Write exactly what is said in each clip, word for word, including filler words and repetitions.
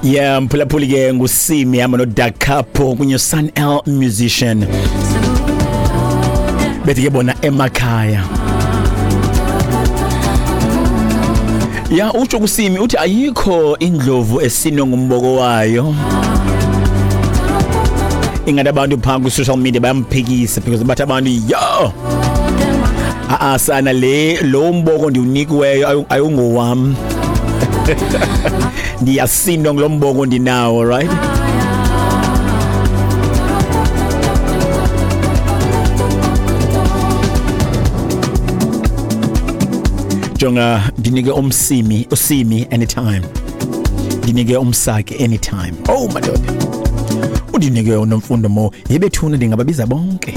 Yeah, mphulaphuli ke nguSimi hamba noDakapo kunye Sun L musician. Bethi ke bona emakhaya. Ya utsho kuSimi uthi ayikho indlovu esino ngumboko wayo. Ingathi abantu phaa ku social media bayamphikisa because bathi abantu yo a sana le lo mboko ndiwunikiweyo ayungowam. Ndiyasindwa ngulo mboko ndinawo, right? Jonga ndinike umsimi usimi anytime, ndinike umsaki anytime. Oh madoda, undinike uNomfundo Mo yebethuna ndingababiza bonke.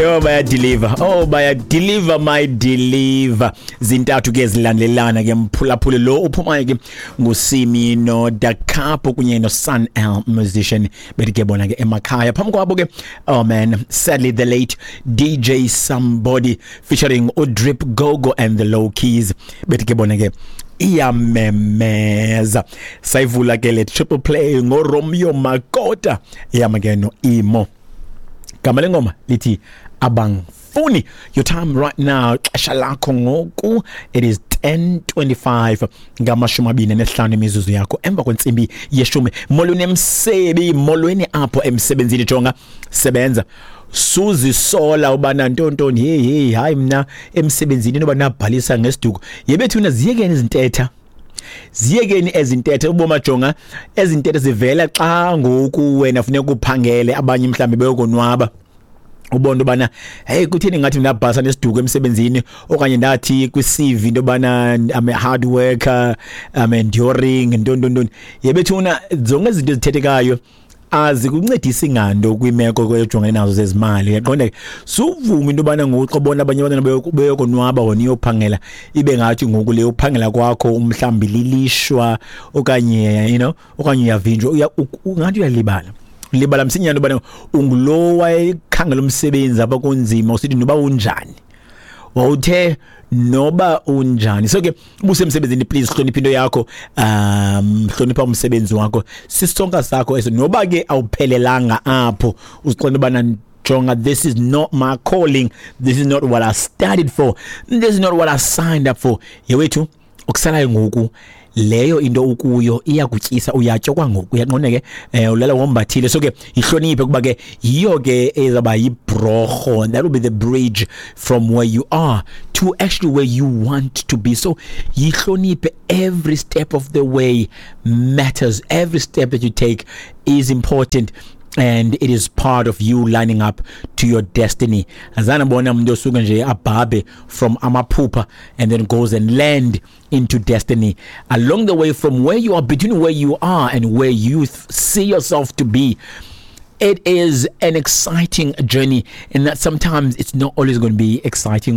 Yo baya deliver, oh baya deliver my deliver. Zintathu ke zilandelana ke mphulaphuli lo uphumayo ke nguSimi no Dakapo kunye no Sun L musician bethi ke bona ke emakhaya. Phambi kwabo ke, oh man, sadly the late D J Sumbody featuring uDrip Gogo and the Low Keys bethi ke bona ke iyamemeza. Sayivula ke le triple play ngoRomeo Makota yama ke no Imo. Gama lengoma lithi abangfuni. Your time right now, xesha lakho ngoku, it is ten twenty-five ngamashumi abini nesihlanu imizuzu yakho emva kwentsimbi yeshumi. Molweni emsebi, molweni apho emsebenzini. Jonga sebenza, suzisola ubana ntontoni hey hey hayi mna emsebenzini noba nabhalisa ngesiduko. Yebethuna ziyekeni izintetha, ziyekeni ezintethe uboma. Jonga ezintethe zivela xa ngoku wena funeka uphangele, abanye mhlambi beyokonwaba. Ubona ubana hey kutheni ngathi ndabhasa nesiduko emsebenzini, okanye ndathi kwi-C V into yobana I'm a hard worker, I'm enduring ntontontoni. Yebethuna zonke izinto ezithethekayo azikuncedisi ngando kwimeko kwejongene nazo zezimali. Uyaqonda ke, suvuma into yobana ngoku ubona abanye abantwana beyokonwaba wena uyophangela, ibe ngathi ngoku le uphangela kwakho umhlambi lilishwa okanye you know okanye uyavinjwa, ungathi uyalibala libala msinyane ubana ungulo wayekhangela umsebenzi apha kunzima, usithi noba unjani, wawuthe noba unjani. So ke ubusemsebenzini, please hlonipha into yakho, um hlonipha umsebenzi wakho, sisonka sakho eso. Noba ke awuphelelanga apho, uziqonda ubana jonga, this is not my calling, this is not what I studied for, this is not what I signed up for. Yewethu okusalayo ngoku leyo into ukuyo iyakutyisa, uyatya kwangoku, uyaqonda ke, eh ulala wombathile. So ke ihloniphe kuba ke yiyo ke ezaba yibroho, that will be the bridge from where you are to actually where you want to be. So yihloniphe, every step of the way matters, every step that you take is important, and it is part of you lining up to your destiny. Azana bona umuntu osuka nje abhabe from amaphupha and then goes and land into destiny. Along the way, from where you are, between where you are and where you see yourself to be, it is an exciting journey, and that sometimes it's not always going to be exciting.